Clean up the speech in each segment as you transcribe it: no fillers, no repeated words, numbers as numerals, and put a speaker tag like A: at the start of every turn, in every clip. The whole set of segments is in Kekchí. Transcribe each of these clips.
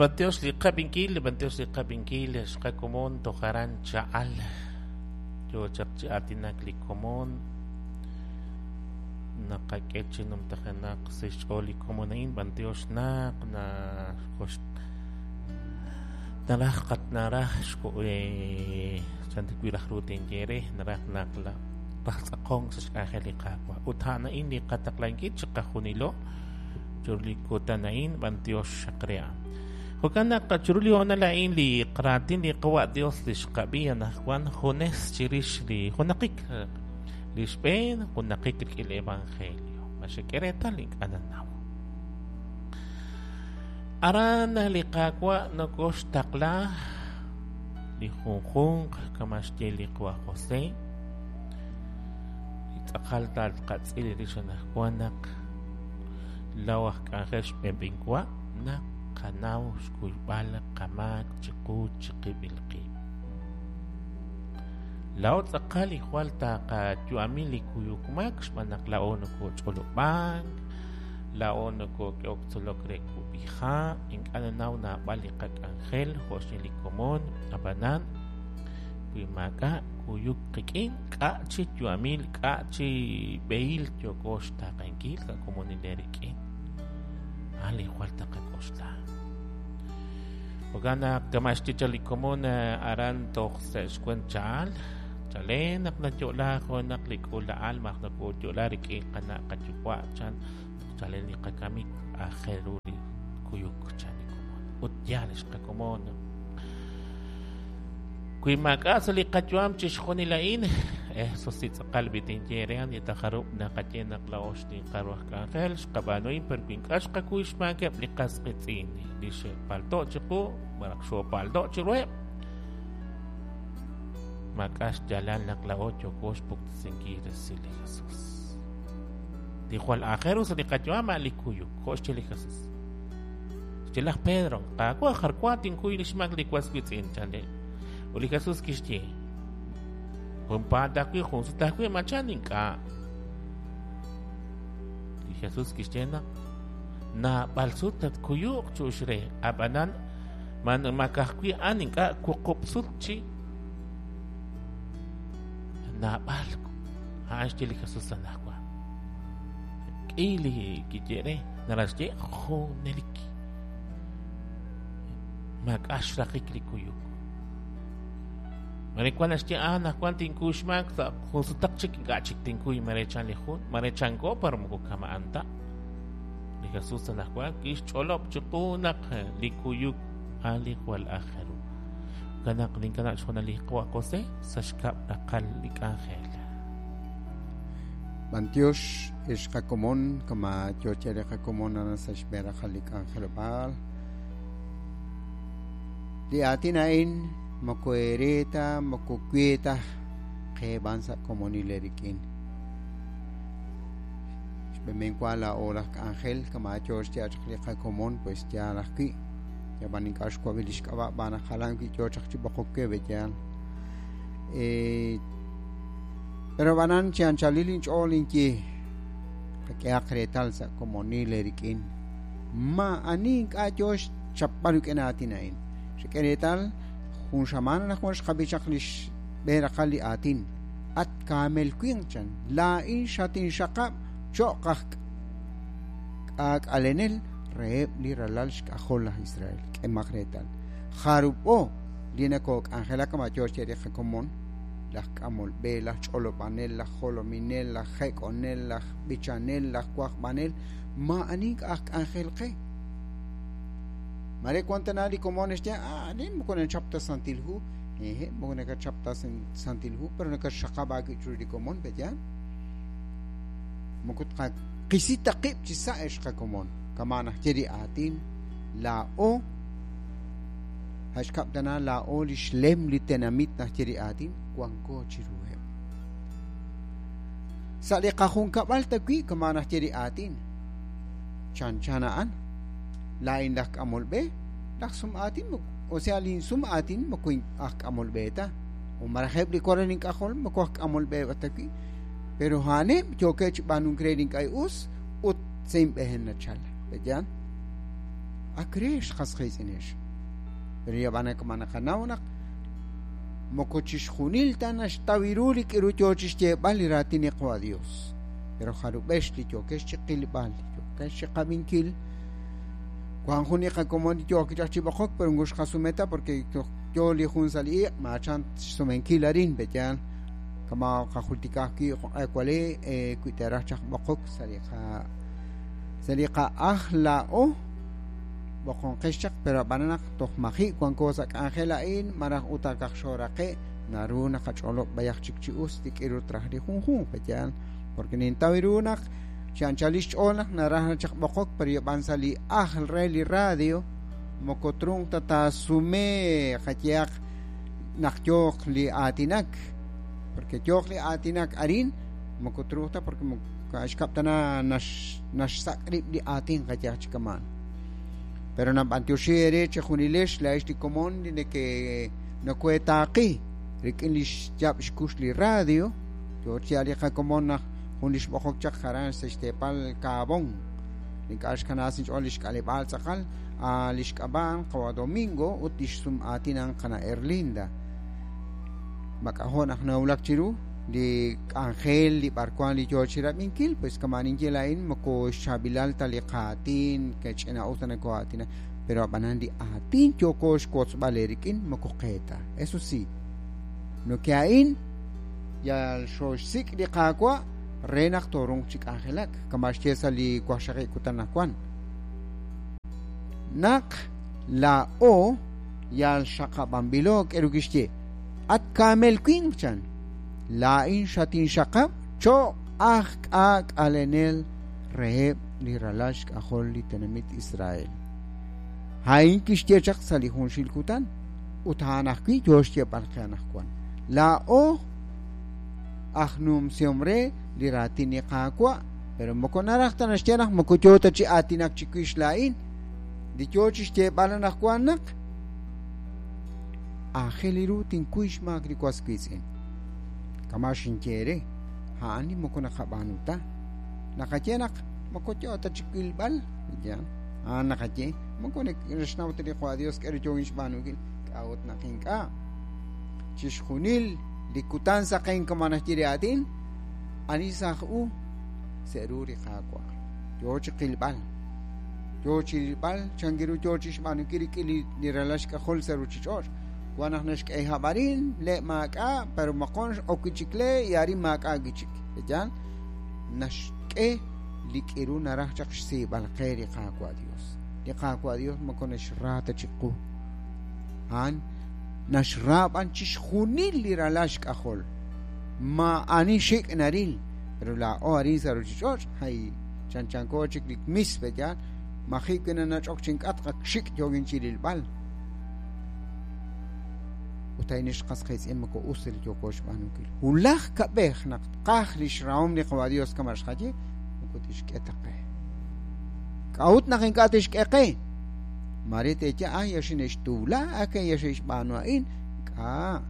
A: B'antiox li qab'inkil, b'antiox li qab'inkil xqakomon toj aran cha'al. Yo chaq chi aatinak li komon. Naqak'e chi numtajenaq sa' xch'ool li komon a'in, b'antiox naq na naraj qat naraj chan wi raj ru tinye re, naraj naq raj tz'aqonk sa' xk'anjel li Qaawa'. Ut a'an a'in li qataqlankil chiqajunilo chiru li kutan a'in, b'antiox xaq re a'an. Jo'kan naq chiru li hoonal a'in li raatin li Qawa' Dios li xqab'i anaqwan junes chirix li junaqik li xb'een junaqik rik'in li Evangelio. Ma xek'e reetal ink'a' nanaw. Aran li Qaawa' nokoxtaqla li junjunq kama' xye li Qawa' José. Li tz'aqal taqatz'il rix anaqwan naq law aj k'anjel xb'enb'inwa naq qanaw xkuyb'al qamaak chiqu chiqib'il qib'. Laa'o tz'aqal li jwal taqayu'ami li kuyuk maak xb'aan naq laa'o nokoch'olob'ank, laa'o nokok'ehok tzolok re kub'iha', ink'a' nanaw naab'al li qak'anjel jo' xye li komon, ab'anan wi maak'a' kuyuk qik'in, k'a' chi yu'amil, k'a' chi b'ehil yooko xtaaqenkil sa' komonil eerik'in. A'an li jwal taqak'oxla. Jo'kan naq kama' xye chaq li komon aran toj sa' xwent cha'al, chalen naq nayo'la junaq li k'uula'al malaj nokoyo'la rik'in qana' qayuwa' chan chalen li qakamik aajel ru li kuyuk chan li komon. Ut yaal xqakomon. Wi maak'a' sa' li qayu'am chixjunil a'in, eso si tz'aqal b'i tinye re ani ta jarub' naqaye naq laa'o xninqal ru aj k'anjel xqab'aanu a'in, pero wi ink'a' xqakuy xmaakeb' li qas qiitz'in li xe'palto' chiqu malaj xoopalto' chiruheb', maak'a' xyaalal naq laa'o yooko xpuktesinkil resil li Jesus. Li jwal aajel ru sa' li qayu'am a'an li kuyuk, jo' xye li Jesus. Xye laj Pedro, Qaawa', jar wa tinkuy li xmaak li was wiitz'in, chan re. Ut li Jesus kixye, Junpaat ajwi', jun sut ajwi', ma chan ink'a'. Li Jesus kixye naq naab'al sut tatkuyuq chu'ux re, ab'anan man makajwi' a'an ink'a' wuqub' sut chi naab'al. A'an xye li Jesus anaqwan. K'i li kiye re, naraj xye junelik. Maak'a' xraqik li kuyuk. Mare wan naxye, ah, anaqwan tinkuy xmaak sa' jun sutaq chik ink'a' chik tinkuy, mare chan li jun, mare chanko par moko kama'an ta. Li Jesus anaqwan kixch'olob' chiqu naq li kuyuk a'an li jwal aajel ru. Jo'kan naq ninkanab' xhoonal li Qawa' Jose sa' xkab' raqal li k'anjel.
B: B'antiox ex qakomon kama yo che li qakomon aran sa' xb'een raqal li k'anjelob'aal. Li aatin a'in moko eere ta moko we ta qe b'an sa' komonil eerik'in. Xb'een wa laa'o laj k'anjel kama yo xye chaq li qakomon pues yaal ajwi'. Yab'an ink'a' xwab'i li xk'ab'a' b'aan naq jalan wi' yo chaq chi b'oqok we b'eyaal. Pero b'anan chi anchalil inch'ool inye qak'ehaq reetal sa' komonil eerik'in. Maa'ani ink'a' yo xchapb'al rik'in aatin a'in. Xek'e reetal jun xamaan anaqwan xqab'i chaq li xb'een raqal li aatin. At kaamel winq chan, laa'in xatinxaqab' cho'q aj k'aak'alenel reheb' li ralal xk'ajol laj Israel. K'emaq reetal. Jarub'o li nakook'anjelak kama' yo xye li qakomon, laj k'amol b'e, laj ch'olob'anel, laj jolominel, laj jek'onel, laj b'ichanel, laj wajb'anel, maa'ani ink'a' aj k'anjel qe. Mare wan tana li komon naxye, ah, nin moko nachap ta Santil Hu. Ehe, moko nakachap ta Santil Hu, pero nakaxaqab' aawib' chiru li komon, pe'yaal? Moko tqaqisi ta qib' chi sa' ex qakomon. Kama' naxye li aatin, laa'o xkab' tana laa'o li xlem li tenamit naxye li aatin, wanko chiruheb'. Sa' li qajunkab'al tawi' kama' naxye li aatin, chanchan a'an, laa'in laj k'amol b'e, laj sum aatin, o sea lin sum aatin moko aj k'amol b'e ta, o malaj eb' li walal ink'ajol moko aj k'amol b'e tawi', pero a'aneb' yookeb' chi b'aanunk re li ink'a' us ut sa' inb'een nachal. Pe'yaal? Ak re xqas qiitz'inex. Pero yab'ana kama naqanaw naq moko chixjunil ta naxtaw ru li k'iru yoo chixyeeb'al li raatin li Qawa' Dios. Pero jarub'ex li yookex chi qilb'al, yookex chi qab'inkil, wan jun li qakomon li yook chaq chi b'oqok, pero moko xqasumeta porque yoo li jun sa' li iq', maachan xsumenkil arin, pe'yaal kama qajultikaj wi' jo'q'e wi teeraj chaq b'oqok sa' li qa'aj laa'o b'oqonqex chaq, pero ab'anan naq toj maji' wanko sa' k'anjel a'in maraj ut akaq xoraqe' naru naqach'olob' b'ayaq chik chi us li k'iru traj li junjunq, pe'yaal porque nintaw ru naq chi anchal xch'ool naq naraj chaq b'oqok, pero yab'an sa' li ajl re li radio moko trunq ta taasume qayehaq naq yooq li aatinak, porque yooq li aatinak arin moko trunq ta porque xkab'tana naxsak' rib' li aatin qayehaq chi kamaan. Pero nab'antioxi ere chejunilex la'ex li komon li neke nokuetaaqi rik'in li xyab' xkux li radio yoo chi li qakomon naq jun li xb'oqok chaq jaran sa' xteepal Kaabón ink'a' xkanaas inch'ool li xk'aleb'aal tz'aqal li xk'ab'a'an Qawa' Domingo ut li xsum aatinan qana' Erlinda mak'ajo' naq nawulak chiru li k'anjel li b'arwan li yoo chi rab'inkil, pues kama ninye la'in moko xchaab'ilal ta li qaatin kach'ina'us ta nako'aatina, pero ab'anan li aatin yooko xwotzb'al eerik'in moko qeeta. Eso sí, no ke a'in yal xoxsik' li qaawa' re naq torunq chi k'anjelak kama xye sa' li waqxaqib' kutan naq wan. Naq laa'o yal xaqab'anb'ilo k'eru kixye at kaamel winq chan la'in xatinxaqab' cho'q aj k'aak'alenel reheb' li ralal xk'ajol li tenamit Israel. A'in kixye chaq sa' li junxil kutan ut a'an ajwi' yoo xyeeb'al qe anaqwan. Laa'o aj numsihom re li raatin li Qaawa', pero moko naraj ta naxye naq moko yoo ta chi aatinak chiwix la'in, li yoo chi xyeeb'al anaqwan naq aajel ru tinkuy xmaak li was wiitz'in. Kama xinye re, a'an li moko naqab'aanu ta. Naqaye naq moko yoo ta chi wilb'al, ya, a'an naqaye, moko naxnaw ta li Qawa' Dios k'e ru yoo xb'aanunkil, k'a'ut naq ink'a'. Chixjunil li kutan saqen kama naxye li aatin, ani saj u sa' ru li Qaawa'. Yoo chi qilb'al, yoo chi rilb'al, chankiru yoo chi xb'aanunkil rik'in li ralal xk'ajol sa' ruchich'och'. Wan naq naxk'e hab'arin, le' maak'a', pero maqon ok wi'chik le' y arin maak'a' wi'chik. Pe'yaal naxk'e li k'iru naraj chaq xsiib'al qe li Qaawa' Dios. Li Qaawa' Dios moko naxra ta chiqu. A'an naxra b'an chixjunil li ralal xk'ajol. Maa'ani xik' naril, pero laa'o arin sa' ruchich'och', hay chanchanko chik li mis, pe'yaal maji' wi' nanach'ok chink'atq ak xik' yoogin chi rilb'al. Ut a'in xqas qiitz'in moko us li yooko xb'aanunkil. Wulaj kab'ej naq tqaj li xrahom li Qawa' Dios kama xqaye, moko tixk'e ta qe. K'a'ut naq ink'a' tixk'e qe? Mare teeye, ay, ya xine'xtuula, ake ya xe'xb'aanu a'in. K'a'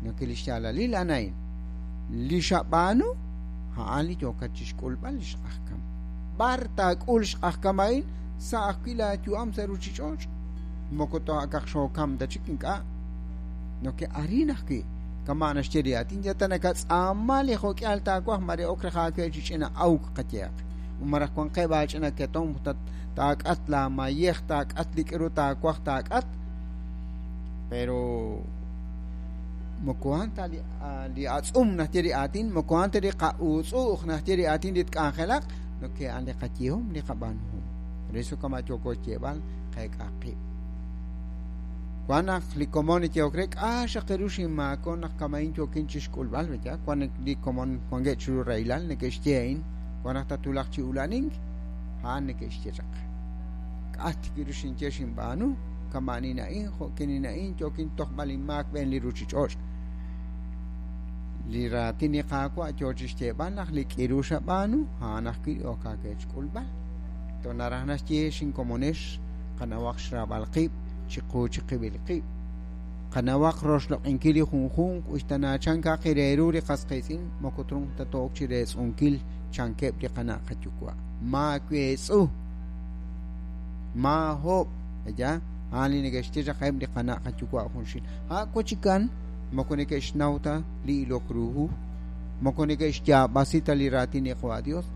B: noke li xyaalalil a'an a'in. Li xab'aanu, a'an li yookat chixk'ulb'al li xq'ajkam. B'ar taak'ul xq'ajkam a'in sa' ajwi' laayu'am sa' ruchich'och'. Moko to'akaq xookam ta chik ink'a'. Noke arin ajwi' kama naxye li aatin ya ta nakatz'aama li jo'k'ihal taawaj mare ok raj aawe chi ch'ina awk qayehaq. Maraj wanqeb' aach'ina ketom taak'at la mayej taak'at li k'iru taawaj taak'at. Pero moko a'an ta li atz'um naxye li aatin, moko a'an ta li qa'utz'u'j naxye li aatin li tk'anjelaq, noke a'an li qayehom li qab'aanuhom. Por eso kama yooko xyeeb'al qeek'aq qib'. Wan naq li komon yehok re k'a' xaq ru xinmaako naq kama'in yookin chixk'ulb'al, ya wan li komon wankeb' chiru rahilal neke'xye a'in, wan naq tatwulaq chi ula'anink, a'an neke'xye chaq. K'a' tik ru xinye xinb'aanu, kama'anin a'in, jo'kinin a'in, yookin tojb'al inmaak b'een li ruchich'och'. Li raatin li Qaawa' yoo chixyeeb'al naq li k'iru xab'aanu, a'an ajwi' ok aawe xk'ulb'al. To naraj naxye xinkomonex qanawaq xraab'al qib' chiqu chiqib'il qib'. Qanawaq roxloq'inkil li junjunq uxtanaachan kaqireeru li qas qiitz'in moko trunq ta to'ok chi reetz'unkil chankeb' li qana' qayuwa'. Maaweetz'u. Maahob', ya, a'an li neke'xye chaq eb' li qana' qayuwa' junxil. A' wachikan moko neke'xnaw ta li ilok ru hu, moko neke'xyaab'asi ta li raatin li Qawa' Dios,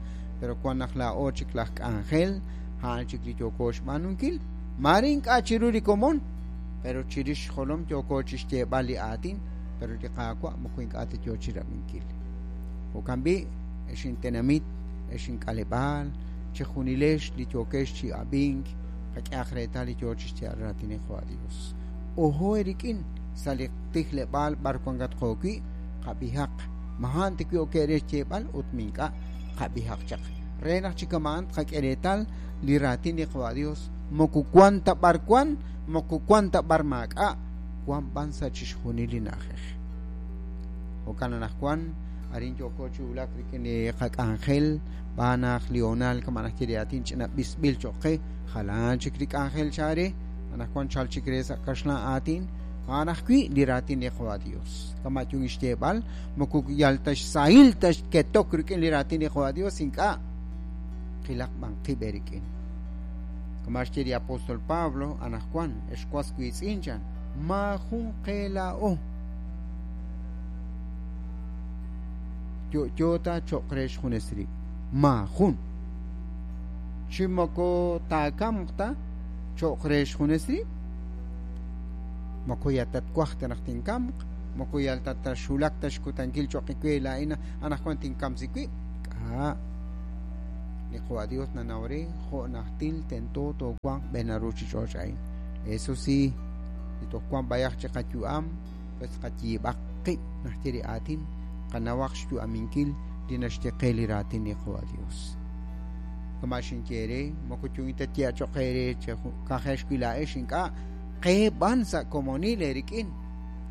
B: pero wan naq laa'o chik laj k'anjel, a'an chik li yooko xb'aanunkil. Maare ink'a' chiru li komon, pero chirix xjolom yooko chixyeeb'al li aatin, pero li Qaawa' moko ink'a' ta yoo chirab'inkil. Jo'kan b'i', ex intenamit, ex ink'aleb'aal, chejunilex li yookex chi ab'ink, qak'ehaq reetal li yoo chixyeeb'al raatin li Qawa' Dios. Ojo eerik'in sa' li tijleb'aal b'ar wankatqo wi', qab'ihaq. Maa'an tiwi' ok re xyeeb'al ut mink'a' qab'ihaq chaq. Re naq chi kama'an tqak'e reetal li raatin li Qawa' Dios moko wan ta b'ar wan, moko wan ta b'ar maak'a', wan b'an sa' chixjunil li na'ajej. Jo'kan anaqwan arin yooko chi wulak rik'in li qak'anjel b'aan naq li hoonal kama' najye li aatin ch'ina b'isb'il cho'q qe, jalan chik li k'anjel chaare, anaqwan chal chik re sa' kaxlan aatin, a'an ajwi' li raatin li Qawa' Dios. Kama' yun xyeeb'al, moko yal ta xsahil ta xketok rik'in li raatin li Qawa' Dios ink'a', qilaq b'an qib' eerik'in. Kama' xye li apóstol Pablo anaqwan, ex was wiitz'in chan, maajun qe laa'o yo'yo ta cho'q re xjunes rib'. Maajun. Chi moko taakamq ta cho'q re xjunes rib'. Moko yal ta twaj ta naq tinkamq, moko yal ta taxulak ta xkutankil cho'q we laa'in anaqwan tinkamsi wib'. K'a'. Li Qawa' Dios nanaw re jo' najtil tento toowanq b'een ruuchich'och' a'in. Eso sí, li toj wan b'ayaq chi qayu'am, pues qayiib'aq qib' najye li aatin, qanawaq xyu'aminkil li naxye qe li raatin li Qawa' Dios. Kama' xinye re, moko yun ta tye cho'q eere kajex wi' laa'ex ink'a', qe b'an sa' komonil eerik'in,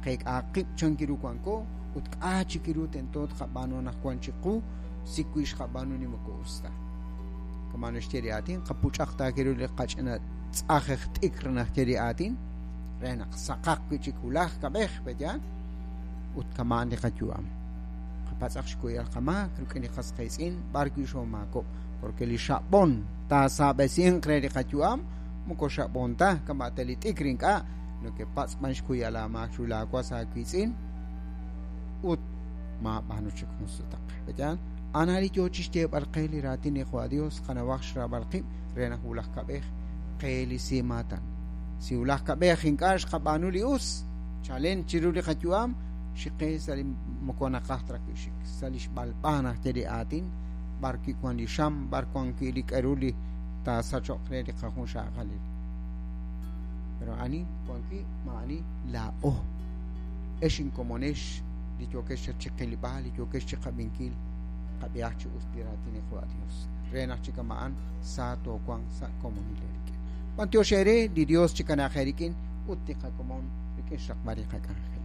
B: qeek'ahaq qib' chan kiru wanko ut k'a' chik ru tento tqab'aanu anaqwan chiqu si wi' xqab'aanu ni moko us ta. Kama' naxye li aatin, qapuch'aq ta kiru li qach'ina tz'ajej t'ikr najye li aatin, re naq saqaq wi' chik wulaj kab'ej, pe'yaal? Ut kama'an li qayu'am. Qapatz'aq xkuyb'al qamaak rik'in li qas qiitz'in b'ar wi' xoomaakob'k, porque li xab'on taasaab'esinq re li qayu'am moko xab'on ta, kama' ta li t'ikr ink'a', nakepatz' b'an xkuyb'al aamaak chiru laawas aawiitz'in ut maab'aanu chik jun sutaq. Pe'yaal? Ana li yoo chixyeeb'al qe li raatin li Qawa' Dios, qanawaq xraab'al qib' re naq wulaj kab'ej qe li simaatan. Si wulaj kab'ej ink'a' xqab'aanu li us, chalen chiru li qayu'am, xiqe sa' li moko naqaj ta wi' xik, sa' li xb'alb'a najye li aatin, b'ar wi' wan li xam, b'ar wan wi' li k'aru li taasachoq re li qajunxaqalil. Pero ani wan wi' maa'ani laa'o. Ex inkomonex li yookex chiqilb'al, li yookex chiqab'inkil, qab'ihaq chi us li raatin li Qawa' Dios. Re naq chi kama'an sa toowanq sa' komonil eerik'in. B'antiox eere li Dios chikanaaq eerik'in ut li qakomon rik'in xraqb'al li qak'anjel.